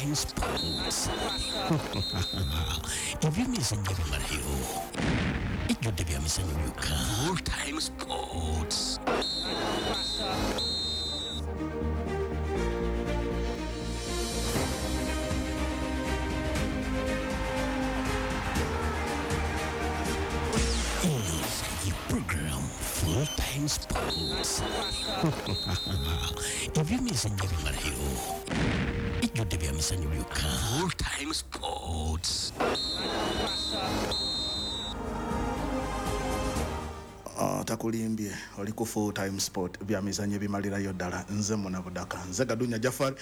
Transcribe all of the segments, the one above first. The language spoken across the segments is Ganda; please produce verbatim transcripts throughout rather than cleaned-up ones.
Time Sports. Ebyemizannyo bimalayo, ejjudde bya mizannyo byokka. Full Time Sports. Program Full Time Sports. Ebyemizannyo bimalayo, ejjudde bya mizannyo byokka. Full Time Sports. Uh, takulimbye oli ku Full Time Sport, bya mizannyo bimalirayo ddala. Nze muna Budaka, nze Gadunya Jafar,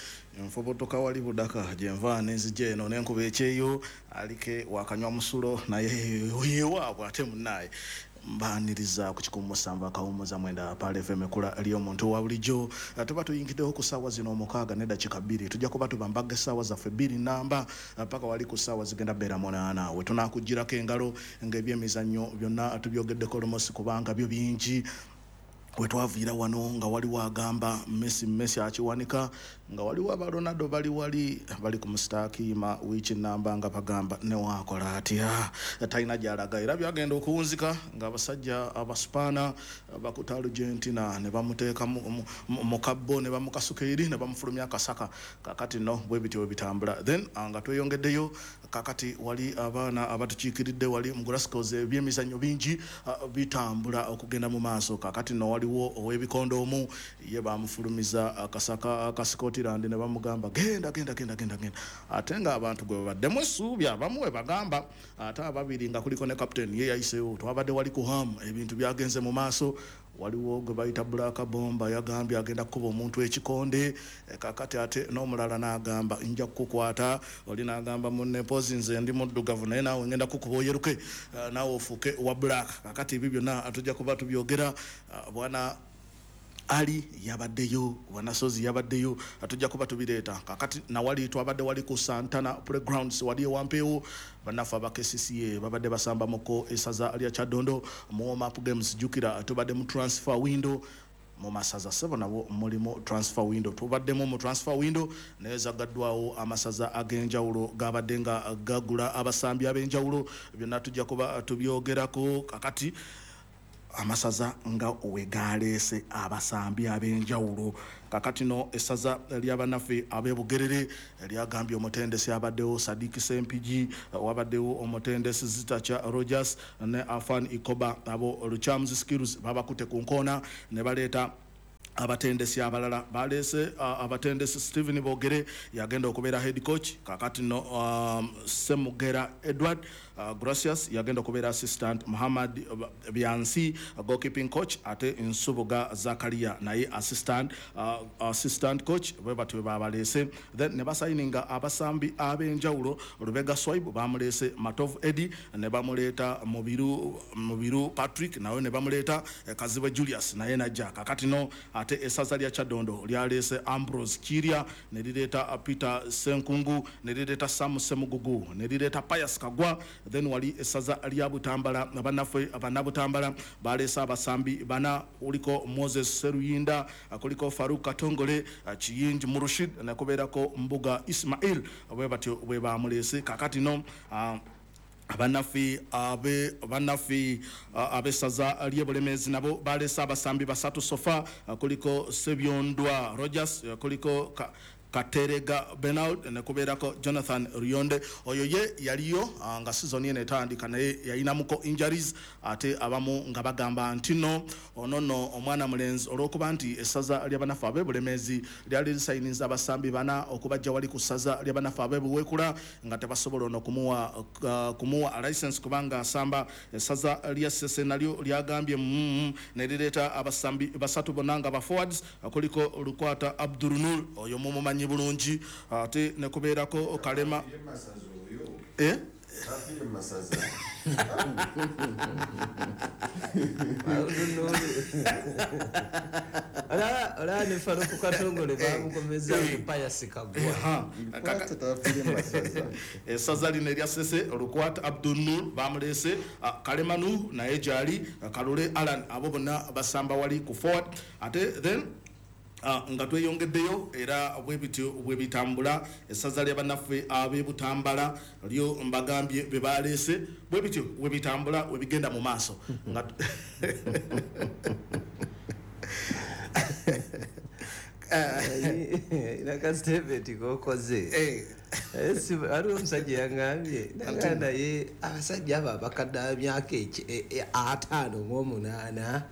nfubutuka wali Budaka gyenva nenzija eno nenkuba ekyeyo alike wakanywa musulo naye yewaabwe ate munnaye mbaniriza ku kikumi musanvu akawummuza mwenda Pearl F M ekula ly'omuntu wa bulijjo. Tuba tuyingiddewo ku ssaawa zino omukaaga n'eddakiika bbiri, tujja kuba tubambaga essaawa zaffe bbiri namba paka wali ku ssaawa zigenda bbeera munaana we tunaakugirako engalo ng'ebyemizannyo byonna tubyogeddeko lumosi kubanga byo bingi. We twaviira wano nga waliwo agamba Messi Messi akiwanika, nga waliwo aba Ronaldo bali wali bali ku musitakiima wiiki namba nga bagamba newakola atya talina gy'alaga, era byagenda okuwunzika ng'abasajja abaspaana bakuta Argentina ne bamuteeka mu kabbo ne bamukasuka eri ne bamufulumya akasaka. Kakati nno bwe bityo bwe bitambula. Then nga tweyongeddeyo kakati wali abaana abatukiikiridde wali mu Glasgow, ebyemizannyo bingi bitambula okugenda mu maaso. Kakati nno waliwo ow'ebikondo omu ye bamufulumiza akasaka aka Scotland ne bamugamba genda genda genda genda genda, ate ng'abantu gwe babaddemu essuubi abamu we bagamba, ate ababiri nga kuliko ne captain ye yayiseewo. Twabadde wali ku Ham, ebintu byagenze mu maaso. Waliwo gwe bayita Black Bomba yagambye agenda kukuba omuntu ekikonde, kakati ate n'omulala n'agamba nja kukukwata, oli n'agamba munne mpozi nze ndi muddugavu naye naawe ngenda kukuba oyeruke naawe ofuuke wa Black. Kakati ebyo byonna tujja kuba tubyogera. Bwana Ali yabaddeyo, Bwana Sozi yabaddeyo, tujja kuba tubireeta. Kakati nawali twabadde wali ku Santana Playgrounds wali ewampeewo, bannaffe aba K C C A babadde basambamuko essaza lya Kyadondo mu warm up games. Jjukira tubadde mu transfer window mu masaza sebo nabo mulimu transfer window, tubaddemu mu transfer window naye zagaddwawo amasaza ag'enjawulo gabadde nga gagula abasambi ab'enjawulo, byonna tujja kuba tubyogerako. Kakati amasaza nga wegaleese abasambi ab'enjawulo. Kakati no essaza ly'abannaffe ab'e lyagambye omutendesi abaddewo Sadiki Sempiji, wabaddewo omutendesi Zitacha Rogers ne Afan Ikoba, abo Luchams Skills babakute ku nkoona ne baleeta abatendesi abalala. Baleese uh, abatendesi Stephen Bogere yagenda okubeera head coach. Kakati no um, Semugera Edward uh, Gracias yagenda okubeera assistant, Muhammad Biansi uh, goalkeeping coach, ate Nsubuga Zakaria naye assistant uh, assistant coach. Bwe batyo babaleese. Then ne basayininga abasambi ab'enjawulo. Lubega Swaibu bamuleese, Matovu Eddie ne bamuleeta, Mubiru Mubiru Patrick nawe ne bamuleeta, Kazibwe Julius naye najja. Kakati no ate essaza lya Kyadondo lyaleese Ambrose Kiria ne lireeta Peter Senkungu ne lireeta Sam Semugugu ne lireeta Pius Kagwa. Then wali essaza lya Butambala, bannaffe bannabutambala baleese abasambi bana, kuliko Moses Seruyinda, kuliko Faruk Katongole, Kiyingi Murushid ne kubeerako Mbuga Ismail, bwe batyo bwe bamuleese. Kakati no uh, abannaffe abe bannaffe ab'essaza ly'e Bulemeezi nabo baleese abasambi basatu sofa, kuliko Sebyondwa Rogers, kuliko ka, Katerega Bernard ne kubeerako Jonathan Rionde. Oyo ye yaliyo nga season eno etandika naye yayinamuko injuries, ate abamu nga bagamba nti no ono nno omwana mulenzi olw'okuba nti essaza ly'abannaffe ab'e Bulemeezi lyali lisayiniza abasambi bana okubajja wali ku ssaza ly'abannaffe ab'e Buweekula nga tebasobola ono kumuwa uh, kumuwa license kubanga asamba. Essaza lya Ssese nalyo lyagambye mm, ne lireeta abasambi basatu bonna nga ba forwards, kuliko Lukwata Abdul Nur oyo mumumanyi bulungi, ate ne kubeerako Kalema eh Olaba ne Faruku Katongole bamukomeza Pius Kagwa. Essaza lino erya Ssese Lukwata Abdul Nur bamuleese, Kalemanu naye gyali, Kalule Alan, abo bonna basamba wali ku forward. Ate then Uh, nga tweyongeddeyo era bwe bityo bwe bitambula. Essaza lya bannaffe ab'e Butambala lyo mbagambye be baleese, bwe bityo bwe bitambula bwe bigenda mu maaso. Nga Nakasiteveti kokoze aliwo omusajja yangambye naga naye abasajja abo abakadde ab'emyaka ataano mu omunaana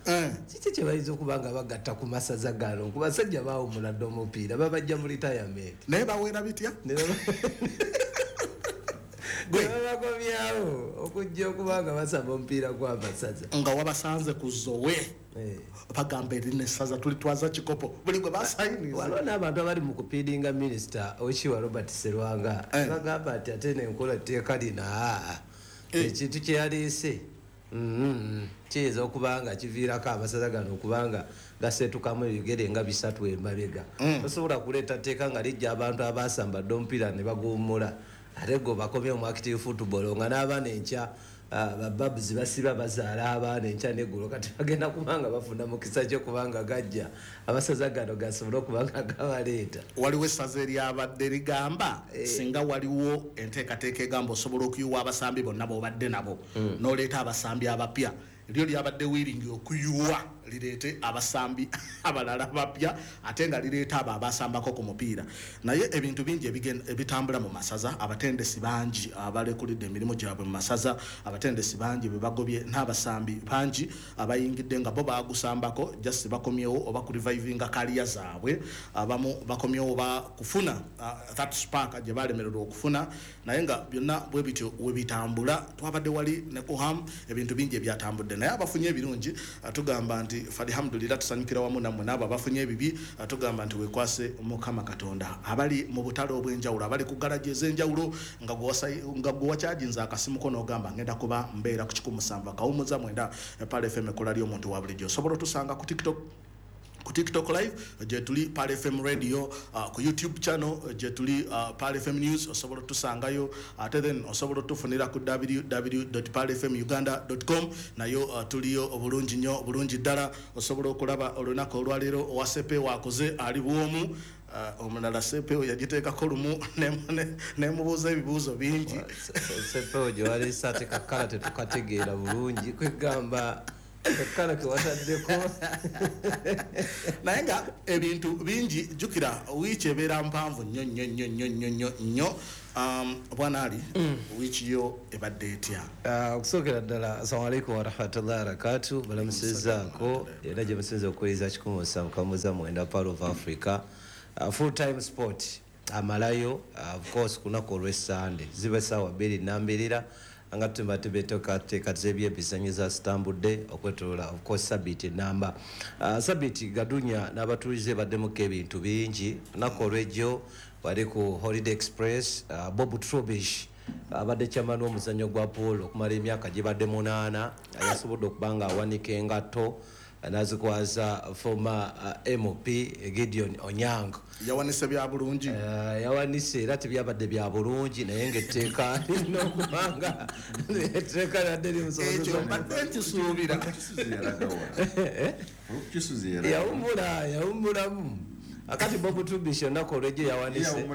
kiki kye bayinza okuba nga bagatta ku masaza gano, ku basajja baawummula dda omupiira babajja mu retirement naye baweera bitya ne babakomyawo okujja okuba nga basaba omupiira gw'amasaza nga wabasanze ku zowe bagamba erina essaza tulitwaza kikopo buli gwe basayiniza. Waliwo n'abantu abali mu kupiidinga minisita Okiwa Robert Serwanga bagamba nti ate n'enkola tteeka lino ekintu kye yaleese kiyinza okuba nga kiviirako amasaza gano okubanga gaseetukamu ebigere nga bisatu emabega. Tosobola kuleeta tteeka nga lijja abantu abasambadde omupiira ne baguwummula ate gwe bakomye mu active football nga n'abaana enkya bababuzi basiba bazaala abaana enkya neggulo, kati bagenda kubanga bafuna mukisa kyo kubanga gajja amasaza gano gasobole okuba nga gabaleeta. Waliwo essaza eryabadde ligamba singa waliwo enteekateeka egamba osobola okuyiwa abasambi bonna b'obadde nabo n'oleeta abasambi abapya, lyo lyabadde wiringi okuyiwa lireete abasambi abalala bapya ate nga lireeta abo abasambako ku mupiira. Naye ebintu bingi ebitambula mu masaza, abatendesi bangi abalekulidde emirimu gyabwe mu masaza, abatendesi bangi be bagobye n'abasambi bangi abayingidde nga bo bagusambako just bakomyewo oba ku revivinga kaliya zaabwe, abamu bakomyewo ba kufuna uh, that spark gye balemererwa okufuna. Naye nga byonna bwe bityo we bitambula. Twabadde wali ne kuham ebintu bingi ebyatambudde, naye abafunye ebirungi tugamba nti alhamdulillah tusanyukira wamu nammwe, n'abo abafunye ebibi tugamba nti weekwase Mukama Katonda. Abali mu butale obw'enjawulo, abali ku garaji ez'enjawulo nga gwe wakyajinza akasimu ko n'ogamba ngenda kuba mbeera ku kikumi musanvu akawummuza mwenda Pearl F M ekola ly'omuntu wa bulijjo. Osobola otusanga ku TikTok, ku TikTok live gye tuli Pearl F M Radio, uh, ku YouTube channel gye tuli uh, Pearl F M News osobola otusangayo, ate then osobola otufunira ku w w w dot pearl f m uganda dot com nayo uh, tuliyo obulungi nnyo obulungi ddala. Osobola okulaba olunaku olwaleero owa Sepe wakoze ali bwomu, Uh, omulala Sepe yagiteekako lumu nemubuuza ebibuuzo bingi. Sepe gye waleese ate kakkala tetukategeera bulungi kwegamba kakkala ke wataddeko naye nga ebintu bingi. Jjukira wiiki ebeera mpanvu nnyo nnyo nnyo nnyo nnyo nnyo nnyo. Um, Bwana Ali, mm. wiiki yo ebadde etya? Okusookera ddala assalamu alaikum warahmatullahi wabarakatuh, balamusizaako era gye musinza okuwuliriza kikumi musanvu kamuza mwenda Pearl of Africa. Uh, full time sport amalayo uh, of course kunaku olw'essande ziba essaawa bbiri nambirira nga tumba tubeteekateeka ebyemizannyo zitambudde okwetoloola of course sabiiti enamba. Uh, sabiiti Gadunya n'abatuuze baddemuko ebintu bingi. Olunaku olw'ejjo wali ku Holiday Express, uh, Bob Trubish abadde chairman w'omuzannyo gwa polo okumala emyaka gibadde munaana yasobodde okuba nga awanika engatto nazikwaza former uh, M P Gideon Onyango. Yawanise bya bulungi, uh, yawanise era tebyabadde bya bulungi naye ng'etteeka lirina okubanga etteeka lyadde ekyo mbadde nkisuubira. Yawummula yawummulamu akati Bob Trubish olunaku olw'ejjo yawanise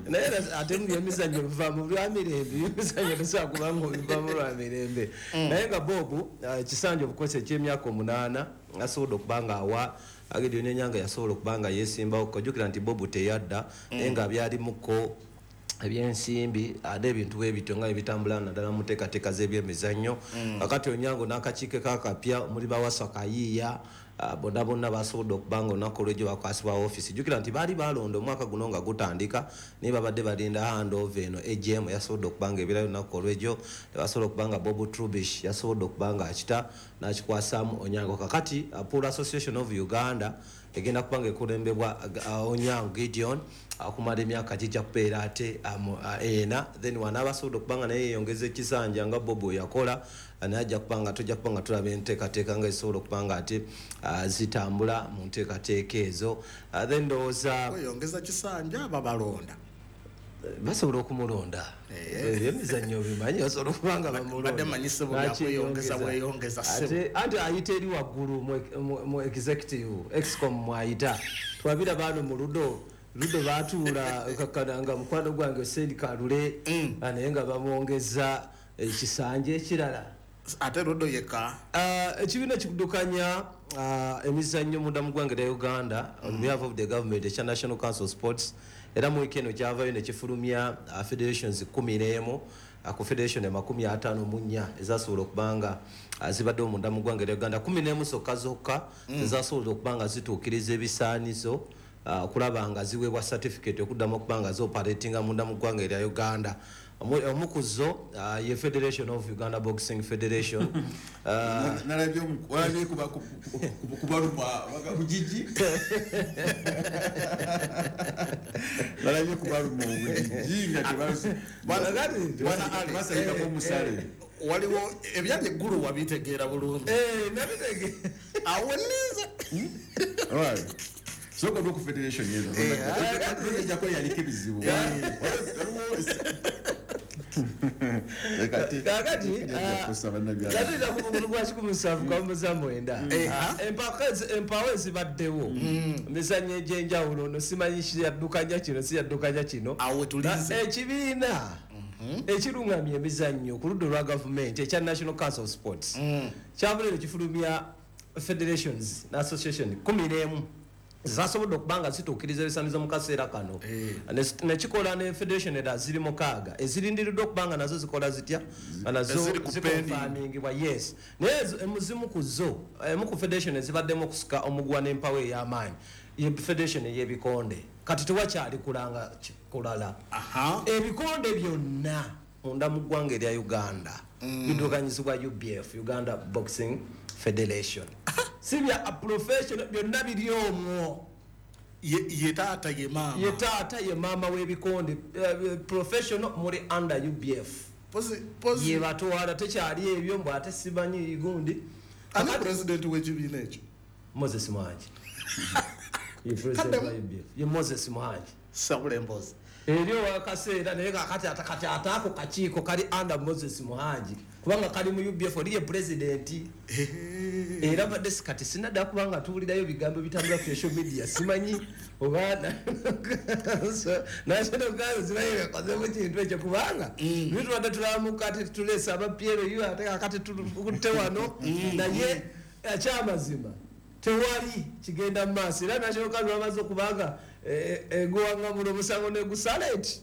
naye ate mu byemizannyo biva mu lwa mirembe, ebyemizannyo tosobola kuba nga obiva mu lwa mirembe. Naye nga Bob ekisanja obukosi eky'emyaka omunaana asobodde okuba nga awa Gideon Onyango yasobola okuba nga yeesimbawo. Kojjukira nti Bob teyadda naye nga byalimuko ebyensimbi ate ebintu bwe bityo nga ebitambula naddala mu nteekateeka z'ebyemizannyo. Kakati Onyango n'akakiiko kakapya omuli Bawasa Kayiiya bonna bonna basobodde okuba nga olunaku olw'ejjo bakwasibwa ofiisi. Jjukira nti baali balonda omwaka guno nga gutandika naye babadde balinda handover eno A G M yasobodde okuba nga ebirayo olunaku olw'ejjo tebasobola okuba nga Bob Trubish yasobodde okuba nga akita n'akikwasaamu Onyango. Kakati Pool Association of Uganda egenda kuba nga ekulembebwa Onyango Gideon okumala emyaka gijja kubeera ate ena, then wanaaba asobodde okuba nga naye yeeyongeza ekisanja nga Bob bwe yakola naye ajja kuba nga tujja kuba nga tulaba enteekateeka nga ezisobola okuba nga ate zitambula mu nteekateeka ezo. Then ndowooza kweyongeza kisanja babalonda Basobola okumulonda. Ebyemizannyo bimanyi basobola okuba nga bamulonda. Badde manyi ssebo byakweyongeza bweyongeza ssebo. Ate anti ayita eri waggulu mu executive excom mwayita. Twabira bano mu ludo ludo batuula kakkana nga mukwano gwange Sendi Kalule naye nga bamwongeza ekisanja ekirala. Ate ludo yekka. Ekibiina kikuddukanya emizannyo munda mu ggwanga lya Uganda on behalf of the government ekya National Council of Sports era mu wiiki eno kyavayo ne kifulumya federations kkumi n'emu ku federation amakumi ataano mu nnya ezasobola okuba nga zibaddewo munda mu ggwanga lya Uganda kkumi n'emu zokka zokka ezasobola okuba nga zituukiriza ebisaanizo okulaba nga ziweebwa certificate okuddamu okuba nga zioperatinga munda mu ggwanga erya Uganda. Omu ku zo ye Federation of Uganda Boxing Federation. Nalabye walabye kubaluma bugigi. Nalabye kubaluma obugigi nga tebazi basayikako omusale. Waliwo ebyali eggulu wabitegeera bulungi. Eh, nabitegeera. Awo nninze. Alright. Soko ku federation yezo. Ejja kweyaliko ebizibu. Kakati katira ku mugulu gwa kikumi musanvu kamuza mwenda. Empawo ezibaddewo emizannyo egy'enjawulo no simanyi kiyaddukanya kino siyaddukanya kino. Ekibiina ekirungamya emizannyo ku ludda olwa gavumenti ekya National Council of Sports kyavuddeyo kifulumya federations na association kkumi n'emu zasobodde okuba nga zituukiriza ebisaanizo mu kaseera kano. Nekikola ne federation era ziri mukaaga ezirindiriddwa okuba nga nazo zikola zitya nga nazo zikonfamingibwa. Yes, naye ezimu ku zo emu ku federation ezibaddemu okusika omuguwa n'empawo ey'amaanyi ye federation ey'ebikonde. Kati tewakyali kulanga kulala. Ebikonde byonna munda mu ggwanga erya Uganda biddukanyizibwa U B F, Uganda Boxing Federation. Si bya professional byonna biri omwo. Ye taata ye maama. Ye taata ye maama w'ebikonde. Professional muli under U B F. Ye batwala tekyali ebyo mbu ate simanyi gundi. Ani president w'ekibiina ekyo? Moses Muhangi. Ye president wa U B F. Ye Moses Muhangi. Sabula emboozi. Eri wakaseera naye kakati atakati ataako kakiiko kali under Moses Muhangi kubanga kali mu U B F oli ye president. Era badde kati sinadda kubanga tuwulirayo bigambo bitambula ku social media simanyi oba National Council simanyi bakozemu kintu ekyo kubanga bitubadde tulamuka ate tuleesa aba P L U ate kakati tukutte wano naye ekyamazima tewali kigenda mu maaso. Era National Council bamaze okubanga eguwanga muno omusango negusala eti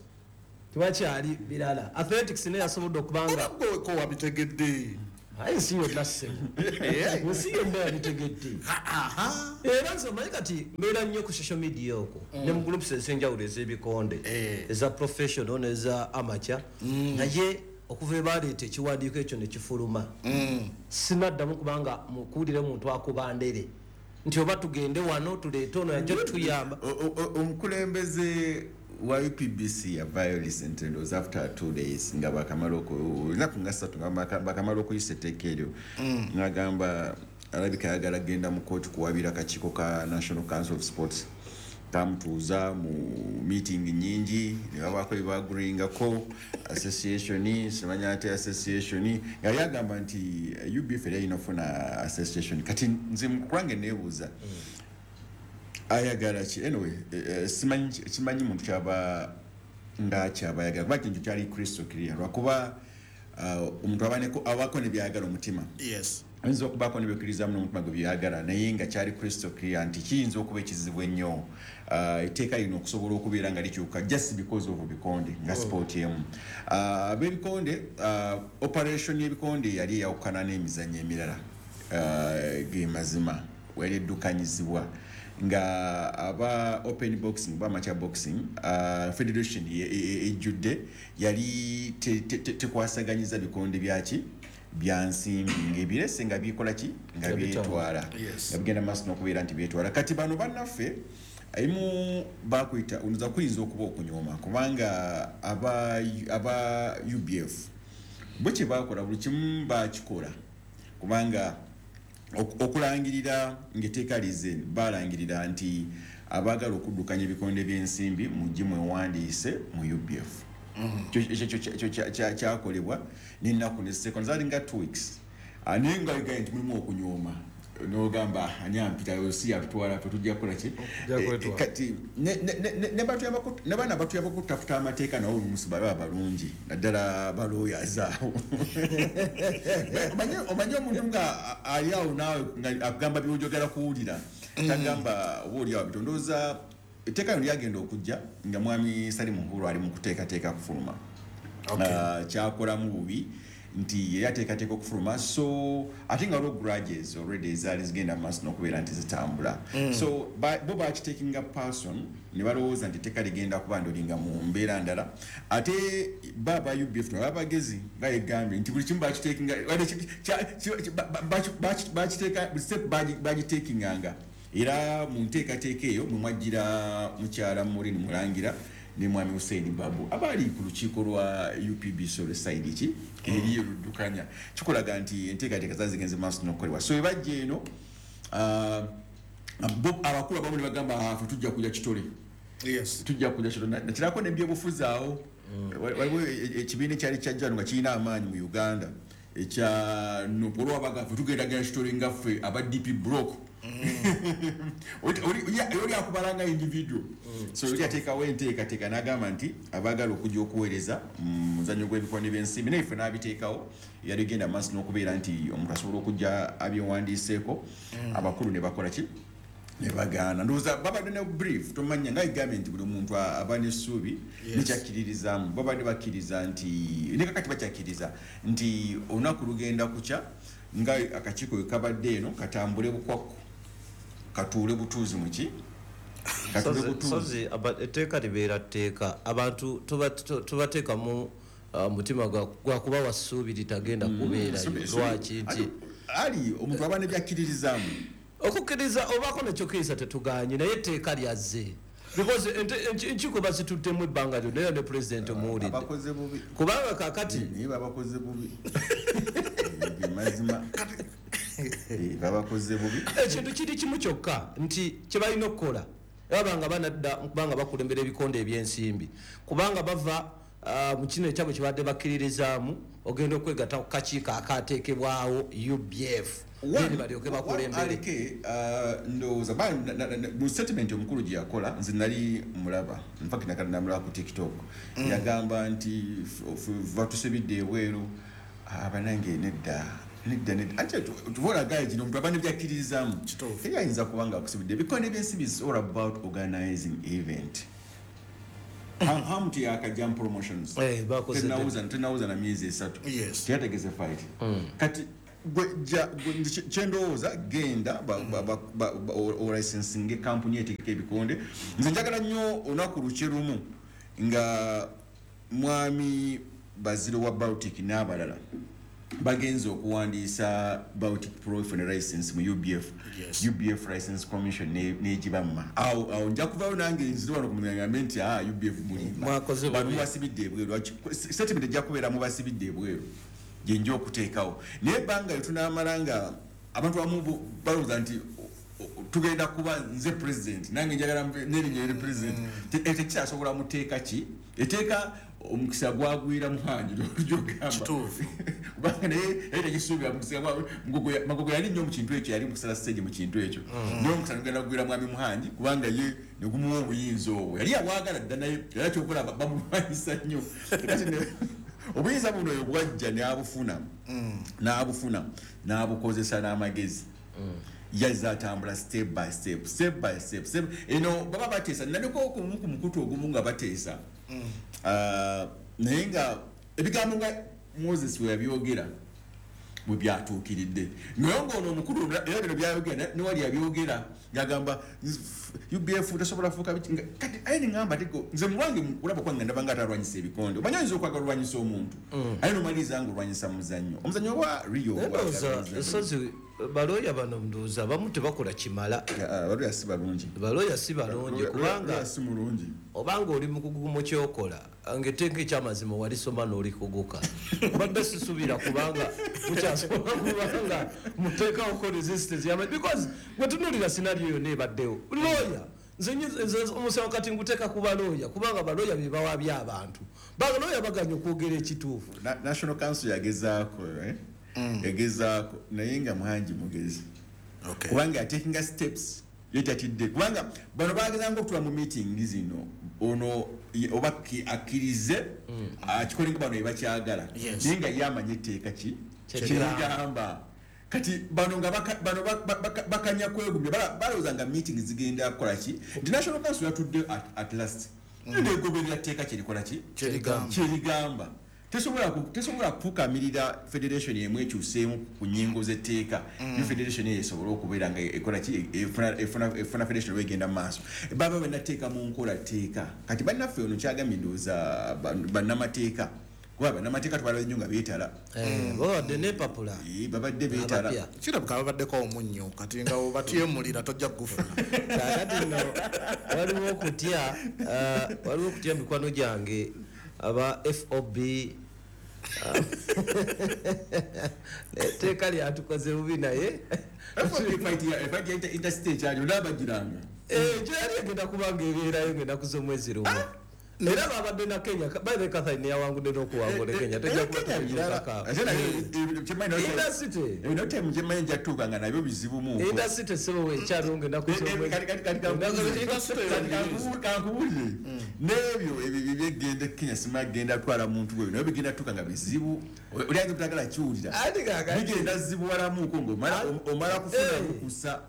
tewakyali birala. Athletics naye yasobodde okubanga ko wabitegedde. Aye nsi yonna ssebo. Ensi yonna yabitegedde. Era nze omanyi kati mbeera nnyo ku social media okwo ne mu groups ez'enjawulo ez'ebikonde eza professional n'eza amateur naye okuva baleeta ekiwandiiko ekyo ne kifuluma sinaddamu kubanga mukuwulire muntu akuba ndere nti oba tugende wano tuleete ono yajja tuyamba. Omukulembeze wa U P B C yavaayo recently was after two days nga bakamala olunaku nga ssatu nga bakamala okuyisa etteeka eryo n'agamba alabika ayagala genda mu kooti kuwabira akakiiko ka National Council of Sports. Kamutuuza mu meeting nnyingi ne babaako bye baagreeingako association simanya ate association nga yagamba nti U B F yali erina okufuna association. Kati nze mukulange neebuuza ayagala ki? Anyway, simanyi simanyi muntu kyaba nga kyaba ayagala kuba kintu kyali crystal clear lwakuba omuntu abaneko abaako ne byayagala omutima. Yes. Ayinza okubaako ne byekkirizamu n'omutima gwe byayagala naye nga kyali crystal clear nti kiyinza okuba ekizibu ennyo etteeka lino okusobola okubeera nga likyuka just because of bikonde nga sport emu. Ab'ebikonde operation y'ebikonde yali eyawukana n'emizannyo emirala ge mazima yali eddukanyizibwa nga aba open boxing ba amateur boxing uh, federation ejjudde yali tekwasaganyiza bikonde byaki bya nsimbi ng'ebirese nga bikola ki nga byetwala nga bigenda maaso n'okubeera nti byetwala. Kati bano bannaffe emu bakuyita onoza kuyinza okuba okunyooma kubanga aba aba U B F bo kye bakola buli kimu bakikola kubanga okulangirira ng'etteeka lize balangirira nti Abaagala okuddukanya ebikonde by'ensimbi mujje mwewandiise mu U B F. Ekyo kyakolebwa n'ennaku ne seconds zaali nga two weeks. Naye nga bigaye nti mulimu okunyooma n'ogamba ani ampita si yatutwala ffe tujja kukola ki? Kati ne baana batuyambako okutaputa amateeka nabo oluusi baba balungi naddala balooyazi awo. Omanyi omuntu nga ali awo naawe nga akugamba by'oyogera kuwulira tagamba oba oli awo bitondooza. Etteeka lino lyagenda okujja nga mwami Salim Uhuru ali mu kuteekateeka kufuluma. Kyakolamu bubi nti yali ateekateeka okufuluma, so ate nga waliwo grudges already ezaali zigenda mu maaso n'okubeera nti zitambula. So bo bakiteekinga person ne balowooza nti etteeka ligenda kuba ndolinga mu mbeera ndala. Ate bo aba U B F nabo abagezi nga yegambye nti buli kimu bakiteekinga bakiteeka buli step bagiteekinganga. Era mu nteekateeka eyo mwe mwajjira mukyala Maureen Mulangira ne mwami Hussein Babu abaali ku lukiiko lwa U P B C olw'essayidi ki eri eruddukanya. Kikulaga nti enteekateeka zaali zigenze maaso n'okukolebwa. So ebajja eno abakulu abamu ne bagamba ffe tujja kujja kitole. Tujja kujja kitole. Nakirako n'ebyobufuzi awo waliwo ekibiina ekyali kyajja nga kirina amaanyi mu Uganda ekya N U P olwabaga ffe tugendagenda kitole nga ffe aba D P block. Oli akubala nga individual. So oli ateekawo enteekateeka n'agamba nti abaagala okujja okuweereza mu muzannyo gw'ebikonde by'ensimbi naye ffe n'abiteekawo yali egenda maaso n'okubeera nti omuntu asobola okujja abyewandiiseeko abakulu ne bakola ki ne bagaana. Ndowooza babadde ne brief tomanya nga egambye nti buli muntu aba n'essuubi nekyakkiririzaamu. Babadde bakkiriza nti ne kakati bakyakkiriza nti olunaku lugenda kukya nga akakiiko we kabadde eno katambule bukwakku katuule butuuzi muki Sozi etteeka libeera tteeka abantu tubateekamu mutima gwa kubawa ssuubi litagenda kubeerayo. Lwaki nti ali omuntu aba nebyakkiririzaamu okukkiriza obaako nekyokkiriza tetugaanye naye etteeka lyazze because enkiiko bazituddemu ebbanga lyonna era ne pulezidenti omuwulidde kubanga kaakati naye babakoze bubi mazima babakoze bubi. Ekintu kiri kimu kyokka nti kye balina okukola baba banadda kubanga bakulembera ebikonde ebyensimbi kubanga bava mu kino ekyabwe kye badde bakkiririzaamu ogenda okwegatta ku kakiiko akaateekebwawo U B F balyoke bakulembere. Aleke ndowooza mu statement omukulu gye yakola nze nali mulaba in fact namulaba ku TikTok yagamba nti batusibidde ebweru abanange nedda nedda nedda ate tuvola gaye gino omuntu aba nebyakkiririzaamu teri ayinza kuba nga akusibidde. Ebikonde by'ensimbi is all about organizing event. Hamuti yakajja mu promotions tenawuza na myezi esatu teyategeze fight kati kyendowooza genda olicensinga ekampuni etegeka ebikonde. Nze njagala nnyo olunaku lukye lumu nga mwami Baziro wa Baltic n'abalala bagenze okuwandiisa Baltic Pro for license mu U B F. U B F License Commission n'egibamma. Awo awo nja kuvaayo nange nzire wano ku mugambe nti ah U B F mulimba bano mubasibidde ebweru. Statement ejja kubeera mubasibidde ebweru gye nja okuteekawo. Naye ebbanga lye tunaamala nga abantu abamu balowooza nti tugenda kuba nze president nange njagala n'erinnya eri president tekikyasobola muteeka ki etteeka omukisa gwagwira Muhangi gyogamba kubanga naye yali tekisuubira mukisa Magogo yali nnyo mu kintu ekyo yali mukusala stage mu kintu ekyo naye omukisa gugenda kugwira mwami Muhangi kubanga ye ne gumuwa obuyinza obwo yali abwagala dda naye era kyokola bamulwanyisa nnyo. Kati obuyinza buno oyo bwajja n'abufuna n'abufuna n'abukozesa n'amagezi yazze atambula step by step step by step step eno baba bateesa naliko okumu ku mukutu ogumu nga bateesa naye nga ebigambo nga Moses we yabyogera bwe byatuukiridde naye ng'ono omukulu era bino byayogera ne wali yabyogera ng'agamba U B F tasobola fuuka biki kati aye ne ŋŋamba ate nze mulwange kulaba kwange ndaba nga atalwanyisa ebikonde omanyi oyinza okwagala olwanyisa omuntu aye n'omaliriza nga olwanyisa muzannyo omuzannyo oba Rio Sozi balooya bano ndowooza abamu tebakola kimala. Balooya si balungi balooya si balungi kubanga si mulungi obanga oli mukugu mu kyokola ng'etteeka ekyamazima walisoma n'olikuguka mbadde sisuubira kubanga mukyasobola kubanga muteekawoko resistance yama because bwe tunuulira scenario yonna ebaddewo looya Nze omusango kati nguteeka ku balooya, kubanga balooya be bawabya abantu. Balooya baganye okwogera ekituufu. National Council yagezaako, eh? Yagezaako naye nga Muhangi mugezi. Kubanga taking steps yetatidde, kubanga bano bagezanga okutula mu meeting zino ono oba akkirize akikole nga bano ebakyagala, naye nga ye amanye etteeka ki kyerigamba. Kati bano nga bano bakanya kwegumya, balowooza nga meeting zigenda kukola ki. Nti National Council yatudde at last negoberera tteeka kyerikola ki kyerigamba. Tesobola kufukamirira federation emu ekyuseemu ku nnyingo z'etteeka. New federation eyo esobola okubeera nga ekola ki, efuna federation oba egenda mu maaso. Baba bannateeka mu nkola tteeka. Kati bannaffe ono kyagambye ndowooza bannamateeka, kuba bannamateeka tubalaba nnyo nga beetala. Babadde n'empapula. Babadde beetala. Kirabika babaddeko omunnyo, kati nga obatyemulira tojja kugufuna. Kaakati nno waliwo okutya, waliwo okutya mikwano gyange aba F O B etteeka lyatukoze bubi naye gyali egenda kubanga ebeerayo ng'ennaku z'omwezi lumu. Era babadde na Kenya, by the Catherine yawangudde n'okuwangula Kenya, tojja kuba Indasite. Kyemmanyi njatuuka nga nabyo bizibu. Indasite ssebo weekyaliwo ng'ennaku z'omwezi. Kankubuulire n'ebyo ebyo byegenda Kenya simanyi genda kutwala muntu gwe naye bigenda tuuka nga bizibu, oli ayinza obutagala kiwulira. Bigenda zibuwalamuko ng'omala kufuna lukusa.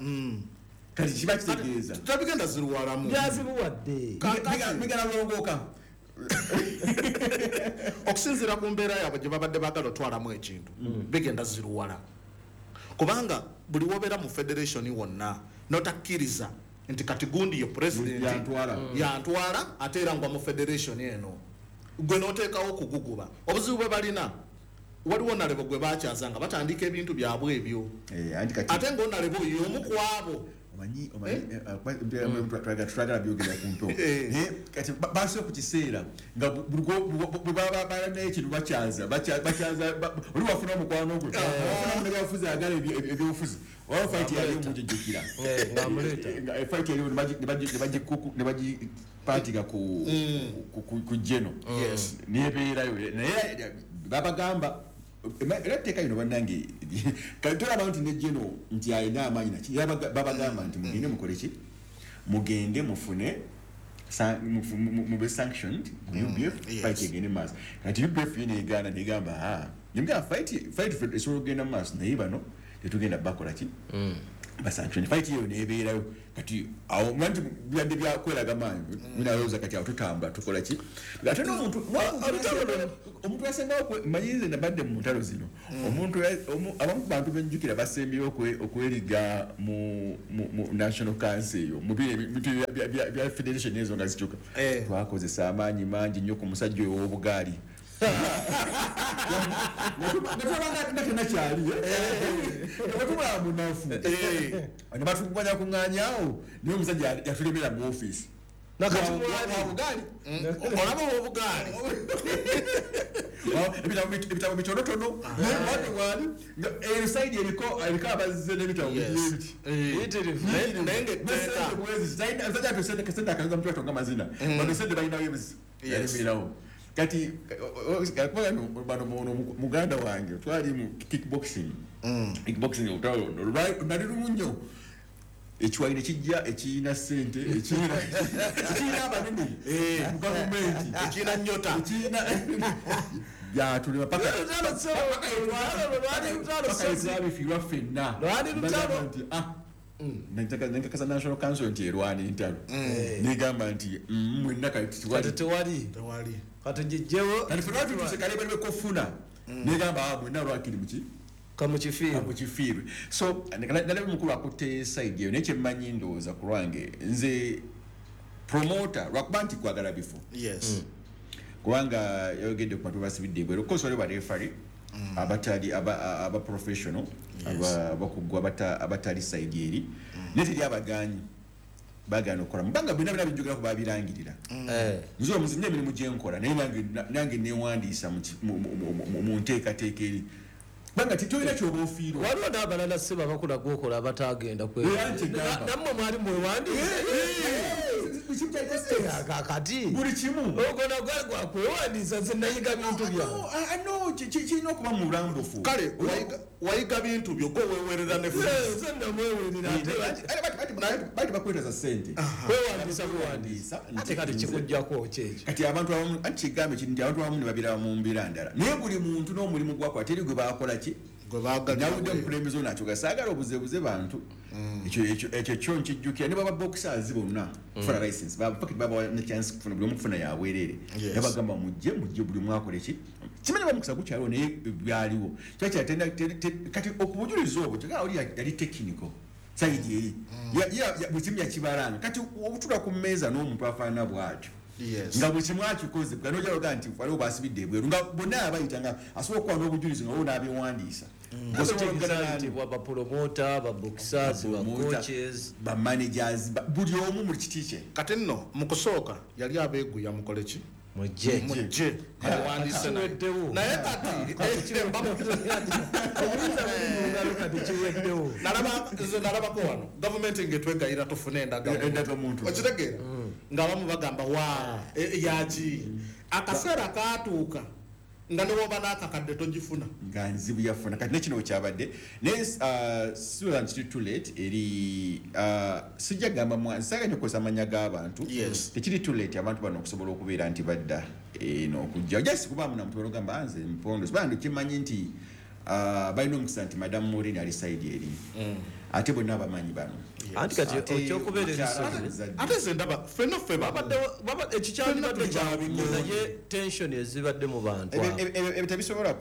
Kati kiba kitegeeza tabigenda ziruwalamu byazibuwadde bigenda bulongooka. Okusinziira ku mbeera yaabwe gye babadde baagala otwalamu ekintu, bigenda ziruwala, kubanga buli wobeera mu federation wonna notakkiriza nti kati gundi ye president yantwala ate era ngwa mu federation eno, gwe n'oteekawo okuguguba. Obuzibu bwe balina, waliwo nalebo gwe bakyaza nga batandika ebintu byabwe ebyo, ate ng'onalebo y'omu ku abo omanyi omanyi twagala byogera ku mpewo. Naye kati basooka ku kiseera nga bwe baba balina ekintu bakyaza bakyaza, oli wafuna omukwano gwe wafuna munnabyabufuzi ayagala ebyobufuzi, oba fight yali omujjukira fight yali ne bagipaatiga ku geno nebeerayo, naye babagamba era etteeka lino bannange kati tolaba nti ne geno nti alina amaanyi naki, babagamba nti mugende mukole ki, mugende mufune mube sanctioned mu U B F, fight egende maaso. Kati U B F yo negaana negamba nemugamba fight fight esobola okugenda mu maaso, naye bano tetugenda bakola ki, basanction. Fight eyo nebeerayo. Kati awo nti byadde byakweraga maanyi minalowooza kati awo tutambula tukola ki. Ate n'omuntu omuntu yasembayo, manyi nze nabadde mu ntalo zino, omuntu abamu ku bantu benjjukira basembyeyo okweriga mu National Council eyo mu bintu bya federation ezo nga zikyuka, twakozesa amaanyi mangi nnyo ku musajja oyo ow'obugaali. Nga tenakyali nebatubula munafu ne batukuganya kuŋŋaanyaawo, naye omusajja yatulemera mu ofiisi. Obugaali olaba obugaali ebitabo bitonotono wali eri sayidi eriko eriko abazze n'ebitabo bibiri naye ng'etteeka omusajja ate sente akaza mutwato nga mazina bano sente balinawo ebizi yalemererawo. Kati bano muganda wange twali mu kickboxing, kickboxing olutalo nali lumu nnyo, ekiwayi ne kijja ekiyina ssente ekiyina abanene mu gavumenti ekiyina nnyota ekiyina byatulema paka twabifiirwa ffenna nti nenkakasa National Council nti erwana entalo, negamba nti mwenna kati tewali kati gijjewo kati ffe lwatutuuse kale bali bekofuna negamba mwenna lwakiri muki kamukifiirwe. So nalaba mukulu akutte side eyo, naye kyemmanyi ndowooza ku lwange nze promoter lwakuba nti kwagala bifo kubanga yayogedde ku bantu basibidde ebweru, of course waliwo barefari abatali aba professional abakugu abatali side eri, naye teri abaganyi bagaana okukola mubanga byonna byonna bijjogera ku babirangirira. Nze omuzi nina emirimu gye nkola naye nange neewandiisa mu nteekateeka eri. Banga titolina kyoba ofiirwa. Waliwo n'abalala si babakula gwokola abatagenda kwe. Nammwe mwali mwewandiise. Kati buli kimu ogwo nagwa kwewandiisa nze nayiga bintu byange. No, kirina okuba mu bulambufu. Kale wayiga bintu byo gwe weewerera ne nze namwewerera bali bakwetaza ssente kwewandiisa kwewandiisa ate kati kikuggyako ki ekyo. Kati abantu abamu anti kigambe kiri nti abantu abamu ne babiraba mu mbeera ndala naye buli muntu n'omulimu gwakola teri gwe bakola ki gwe baagala. Nawudde omukulembeze ono akyoga saagala obuzebuze bantu ekyo ekyo kyo nkijjukira ne baba boxers bonna kufuna license babawa ne chance kufuna buli omu kufuna yabwereere nabagamba mujje mujje buli omu akole ki kimanyi bamukisa gukyaliwo naye byaliwo kyakyatenda kati okubujuliza obwo kyokka oli yali technical side eri buli kimu yakibalanga kati obutula ku mmeeza n'omuntu afaanana bw'atyo nga buli kimu akikoze nojaloga nti waliwo basibidde ebweru nga bonna abayita nga asobola okuba n'obujulizi nga bo n'abiwandiisa bapromota baboxers bacoaches bamanagers buli omu mu kiti kye. Kati nno mu kusooka yali abeeguya mukole ki mujje mujje awandiise naye kati nze nalabako wano gavumenti ng'etwegayira tufune endagamuntu okitegeera ng'abamu bagamba wa yaki akaseera kaatuuka nga ne bw'oba n'akakadde togifuna nga nzibu yafuna. Kati nekino wekyabadde naye siwera nti kiri too late eri sijja gamba saagala nnyo okukozesa amannya g'abantu tekiri too late abantu bano okusobola okubeera nti badda eno okujja just kubaamu na muntu ogamba nze mpondo sibanga kimanyi nti balina omukisa nti Madam Maureen ali side eri ate bonna bamanyi bano. Anti kati ekyokubeera ebisozi ate nze ndaba ffenna ffe babadde ekikyandibadde kyabinnyo naye tension ezibadde mu bantu ebyo tebisobola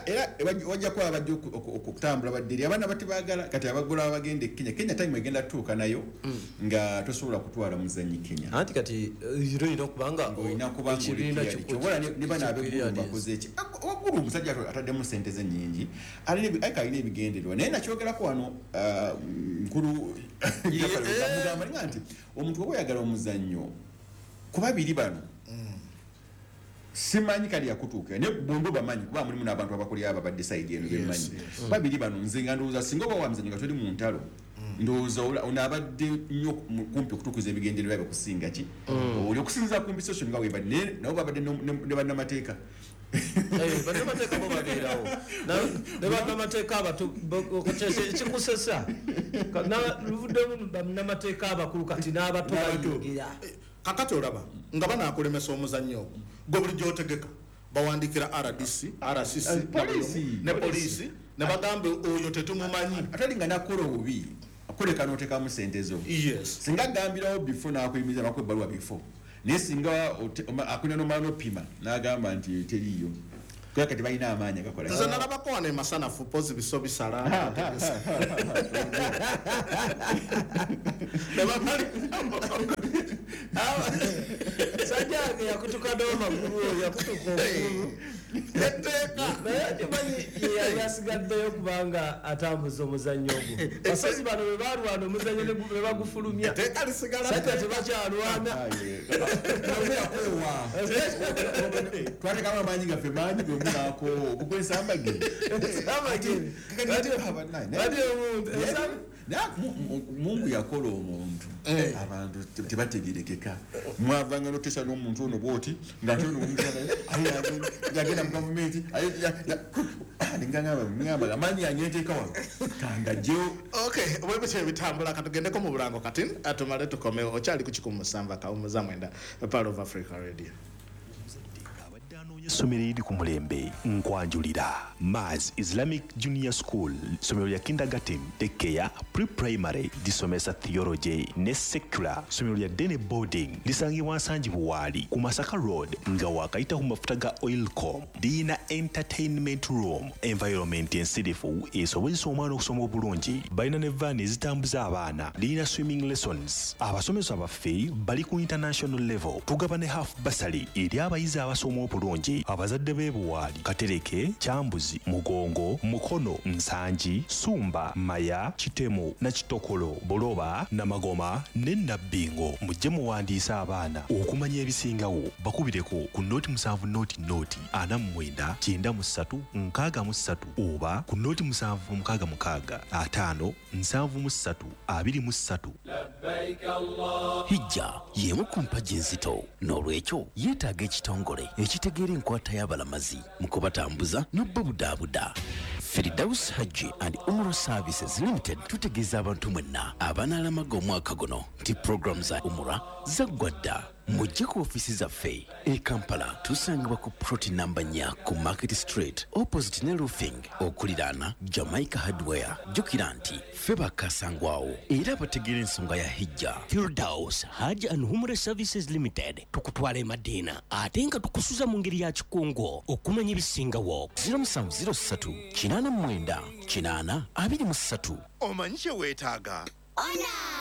era wajja kuba abajja okutambula badde eri abaana batebaagala kati abagola abagenda e Kenya Kenya time egenda tutuuka nayo nga tosobola kutwala muzannyi Kenya. Anti kati era olina okuba nga olina kuba nga oli ne bano ab'eggulu bakoze eki waggulu omusajja ataddemu ssente ze nnyingi alina alina ebigendererwa naye nakyogerako wano nkulu mugamba nga nti omuntu oba oyagala omuzannyo ku babiri bano simanyi kali yakutuuka naye bombi bamanyi kuba mulimu n'abantu abakulira ababadde side eno bemmanyi babiri bano nze nga ndowooza singa oba wa muzannyo nga toli mu ntalo ndowooza ono abadde nnyo kumpi okutuukiza ebigendererwa bye kusinga ki oli okusinziira ku mpisa nga webadde nabo babadde ne bannamateeka. Bannamateeka bo babeerawo ne bannamateeka abato kikusesa luvuddemu bannamateeka abakulu kati n'abato bayingira. Kakati olaba nga banaakulemesa omuzannyo ogwo gwe bulijjo otegeka bawandiikira R D C, R C C ne poliisi ne bagamba oyo tetumumanyi ate nga nakola obubi akoleka n'oteekamu ssente zo. Singa agambirawo bifo n'akuyimiriza bakuwa ebbaluwa bifo naye singa akulina n'omala n'opima n'agamba nti teriiyo kuba kati balina amaanyi agakola. Nze nalabako wano emasanafu pozi biso bisala Sajjange yakutuka n'amagulu oyo yakutuka okugulu etteeka naye okimanyi yali asigaddeyo kubanga atambuza omuzannyo ogwo. Basozi bano bwe balwana omuzannyo ne bagufulumya etteeka lisigala sajja tebakyalwana twatekamu amaanyi gaffe mangi gwe munaako okukwesambage Mungu yakola omuntu abantu tebategerekeka mwavanga n'oteesa n'omuntu ono bw'oti ng'ate ono yagenda mu gavumenti ngamba amaanyi yanyeteeka wano kangajjewo. Okay, bwe bitambula katugendeko mu bulango kati tumale tukomewo. Okyali ku kikumi musanvu akawummuza mwenda Pearl of Africa Radio. Essomero eriri ku mulembe nkwanjulira Mars Islamic Junior School, ssomero lya kindergarten, daycare, pre-primary, lisomesa theology ne secular. Ssomero lya Dene boarding lisangibwa Nsangi Buwaali ku Masaka Road nga waakayita ku mafuta ga Oilcom. Liyina entertainment room, environment ensirifu esobozesa omwana okusoma obulungi. Balina ne vaani ezitambuza abaana. Liyina swimming lessons. Abasomesa baffe bali ku international level. Tugaba ne half bursary eri abayizi abasoma obulungi. Buwaali. Abazadde b'e Buwaali, Katereke, Kyambuzi, Mugongo, Mukono, Nsangi, Sumba, Maya, Kitemu, Nakitokolo, Buloba, Namagoma ne Nabbingo, mujje muwandiise abaana. Okumanya ebisingawo bakubireko ku noti musanvu noti noti ana mu mwenda kyenda mu ssatu nkaaga mu ssatu oba ku noti musanvu mukaaga mukaaga ataano nsanvu mu ssatu abiri mu ssatu. Hijja y'emu ku mpagi enzito, n'olwekyo yeetaaga ekitongole ekitegeera enkwata y'abalamazi mu kubatambuza n'obubudaabuda. Firdaus Hajji and Umrah Services Limited tutegeeza abantu mwenna abanaalamaga omwaka guno nti puroguramu za Umrah zaggwa dda. Mujje ku ofiisi zaffe e Kampala, tusangibwa ku plot namba nnya ku Market Street opposite ne Roofing, okuliraana Jamaica Hardware. Jjukira nti ffe bakasangwawo era abategeera ensonga ya hijja. Firdaus Hajj and Umrah Services Limited tukutwala e Madina ate nga tukusuza mu ngeri ya kikungo. Okumanya ebisingawo zero musanvu zero ssatu kinaana mu mwenda kinaana abiri mu ssatu. Omanyi kye weetaaga?